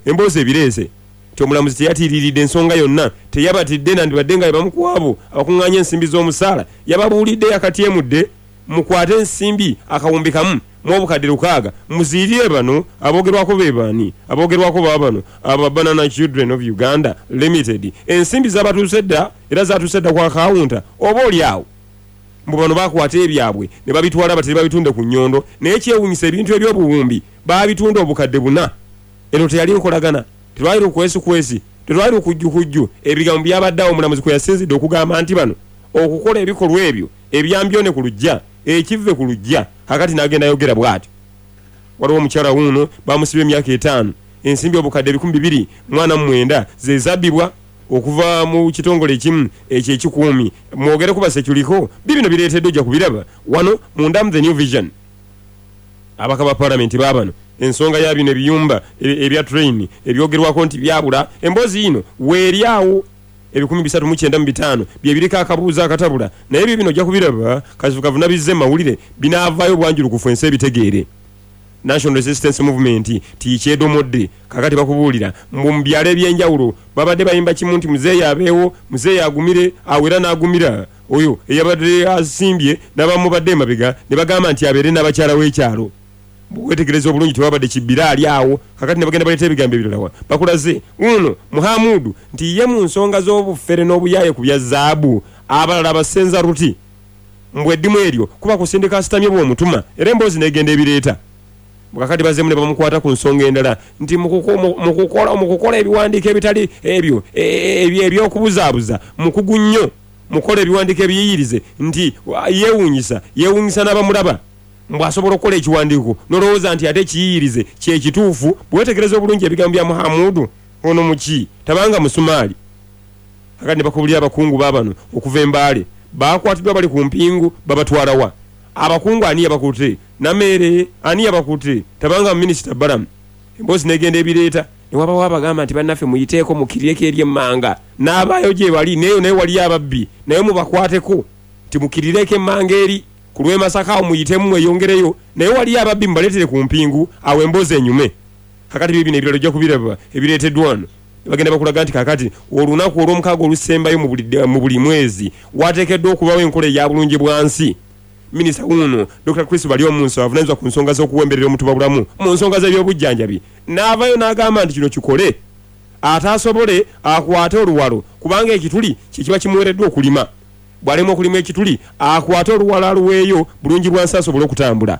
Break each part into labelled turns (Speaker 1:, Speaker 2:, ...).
Speaker 1: Emboozi ebireese nti omulamuzi teyatiiriridde ensonga yonna, teyabatidde nandibadde nga bebamu ku abo abakungaanya ensimbi z'omusaala. Yababuulidde yakatyemudde, Mukwate ensimbi akawumbi kamu mu obukadde lukaaga muziyirire bano aboogerwako. Be baani aboogerwako? Baabano aba Banana Children of Uganda Limited. Ensimbi zaabatuuse dda era zaatuuse dda ku akawunta oba oli awo. Mbu bano bakwata ebyabwe ne babitwala batere babitunde ku nnyondo, naye kyewuunyisa ebintu eby'obuwumbi baabitunda obukadde buna. Eno teyali nkolagana, telwali lukwesikwesi, telwali lukujjukujju. Ebigambo byabadde awo omulamuzi kwe yasinzidde okugamba nti bano okukola ebikolwa ebyo ebya mbyone ku luggya, ekivve ku luggya, kaakati n'agenda ayogera bw'atyo. Waliwo omukyala wuuno baamusibye emyaka etaano, ensimbi obukadde 249 ze zabbibwa okuva mu kitongole ekimu ekyo ekikuumi. Mwogere ku baseculiko, biibino bireeteddwa ojja kubiraba wano munda mu The New Vision. Ababaka ba Palamenti baabano ensonga ya bino ebiyumba ebya train ebyogerwako nti byabula, emboozi yiino weeri awo. 395 bye biriko akabuuzo akatabula, naye biibino ojja kubiraba kavuna bizze mu mawulire, binaavaayo bwanjulukufu ensi ebitegeere. National Resistance Movement tiikyedomodde, kaakati bakubuulira mbu mu byalo eby'enjawulo babadde bayimba kimu nti Muzeeyi abeewo, Muzeeyi agumire, awo era n'agumira oyo eyabadde asimbye n'abamubadde emabega ne bagamba nti abeere n'abakyala w'ekyalo. Bw'oweetegereza obulungi tewabadde kibbiraali awo. Kaakati ne bagenda baleeta ebigambo ebirala wa? Bakulaze wuuno Muhamudu nti ye mu nsonga z'obufere n'obuyaaye ku bya zaabu abalala abasenza ruti. Mbu eddimu eryo kuba kusindika asitamye bw'omutuma era emboozi n'egenda ebireeta. Mbu kaakati bazzeemu ne bamukwata ku nsonga endala nti mu kukola ebiwandiiko ebitali ebyo eby'okubuzaabuza mukugu nnyo mu kukola ebiwandiiko ebiyiyirize nti yeewuunyisa, yeewuunyisa n'abamulaba. Mbu asobola okukola ekiwandiiko n'olowooza nti ate ekiyiyirize kye kituufu. Bwe weetegereza obulungi ebigambo bya Muhamudu ono Muki tabanga Musumaali. Kaakati ne bakubulira abakungu baabano okuva e Mbale. Baakwatiddwa bali ku mpingu babatwala wa? Abakungu ani yabakutte? Nameere ani yabakutte? Tabanga Minisita Balaam. Emboozi n'egenda ebireeta. Ne wabawo abagamba nti bannaffe muyiteeko mukkirireko eri emmanga. N'abaayo gyebali n'eyo nayo waliyo ababbi nayo mubakwateko nti mukkirireko emmanga eri. Ku lw'e Masaka awo muyitemu mweyongereyo naye waliyo ababbi mubaleetere ku mpingu awo emboozi enyume. Kaakati biibino ebirala ojja kubiraba ebireeteddwa wano. Ne bagenda bakulaga nti kaakati olunaku Olwomukaaga olusembayo mu buli, mu buli mwezi wateekeddwa okubaawo enkola eya bulungi bwa nsi. Minisita wuuno, Dokita Chris Baryomunsi avunaanyizibwa ku nsonga z'okuwemberera omutubabulamu mu nsonga z'ebyobujjanjabi n'avaayo n'agamba nti kino kikole ataasobole akwate oluwalo kubanga ekituli kye kiba kimuweereddwa okulima. Bw'alemwa okulima ekituli, akwate oluwalo aluweeyo Bulungibwansi asobole okutambula.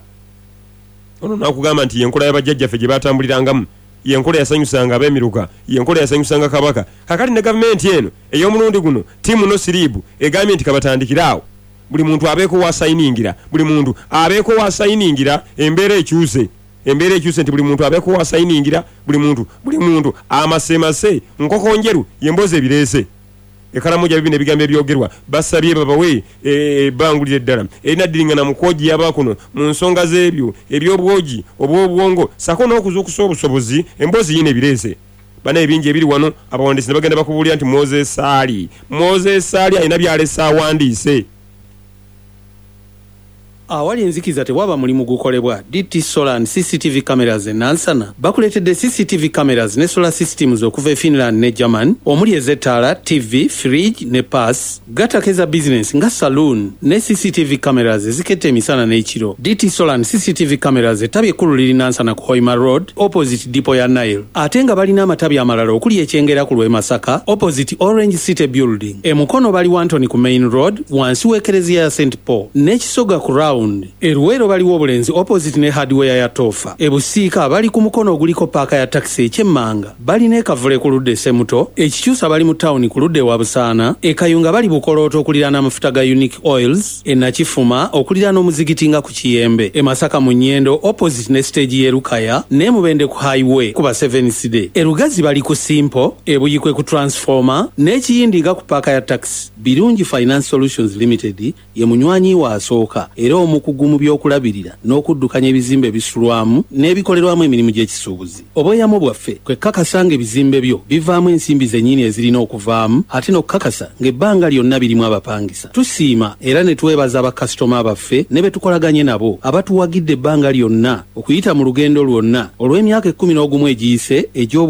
Speaker 1: Ono n'akugamba nti y'enkola ya bajjajjaffe gye baatambulirangamu, y'enkola eyasanyusanga Ab'emiruka, y'enkola eyasanyusanga Kabaka. Kaakati ne Gavumenti eno ey'omulundi guno, Ttiimu No Siriibu, egambye nti kabatandikire awo buli muntu abeeko w'asayiningira, buli muntu abeeko w'asayiningira embeera ekyuse. Embeera ekyuse nti buli muntu abeeko w'asayiningira, buli muntu, buli muntu amasemase. Nkokonjeru y'emboozi ebireese. E Karamoja bibino ebigambo ebyogerwa, basabye babawe ebbanguliro eddala erinaddiringana mu kwojiya aba kuno mu nsonga z'ebyo eby'obwogi obw'obwongo ssaako n'okuzuukusa obusobozi. Emboozi yiino ebireese banaye bingi ebiri wano, abawandiisi ne bagenda bakubuulira nti Moses Ali, Moses Ali alina by'alese awandiise.
Speaker 2: Awali enzikiza tewaba mulimu gukolebwa. DT Solar and CCTV Cameras e Nansana bakuleetedde CCTV Cameras ne Solar Systems okuva e Finland ne German omuli ez'ettaala, ttivvi, fridge ne pass, gattako eza bizinensi nga saloon ne CCTV Cameras eziketta emisana n'ekiro. DT Solar and CCTV Cameras ettabi ekkulu liri Nansana ku Hoima Road opposite Depot ya Nile ate nga balina amatabi amalala okuli e Kyengera ku lw'e Masaka opposite Orange City Building. E Mukono bali Wantoni ku Main Road wansi w'Ekereziya ya Saint Paul n'e Kisoga ku Round. E Luweero bali Wobulenzi opposite ne Hardware ya Toofa. E Busiika bali ku Mukono oguliko paaka ya takisi e Kyemmanga. Bali n'e Kavule ku ludda e Semuto. E Kikyusa bali mu tawuni ku ludda e Wabusaana. E Kayunga bali Bukolooto okuliraana amafuta ga Unique Oils. E Nakifuma okuliraana omuzigiti nga ku Kiyembe. E Masaka mu Nyendo opposite ne siteegi y'e Lukaya n'e Mubende ku Highway kuba Seventh-day. E Lugazi bali ku Simple, e Buikwe ku Transformer n'e Kiyindi nga ku paaka ya takisi. Birungi Finance Solutions Limited ye munywanyi wo asooka era omukugu mu by'okulabirira n'okuddukanya ebizimbe ebisulwamu n'ebikolerwamu emirimu gy'ekisuubuzi. Obweyamo bwaffe kwe kukakasa ng'ebizimbe byo bivaamu ensimbi zennyini ezirina okuvaamu ate n'okukakasa ng'ebbanga lyonna birimu abapangisa. Tusiima era ne twebaza bakasitoma baffe ne be tukolaganye nabo abatuwagidde ebbanga lyonna okuyita mu lugendo lwonna olw'emyaka ekkumi n'ogumu egiyise egy'obuweereza.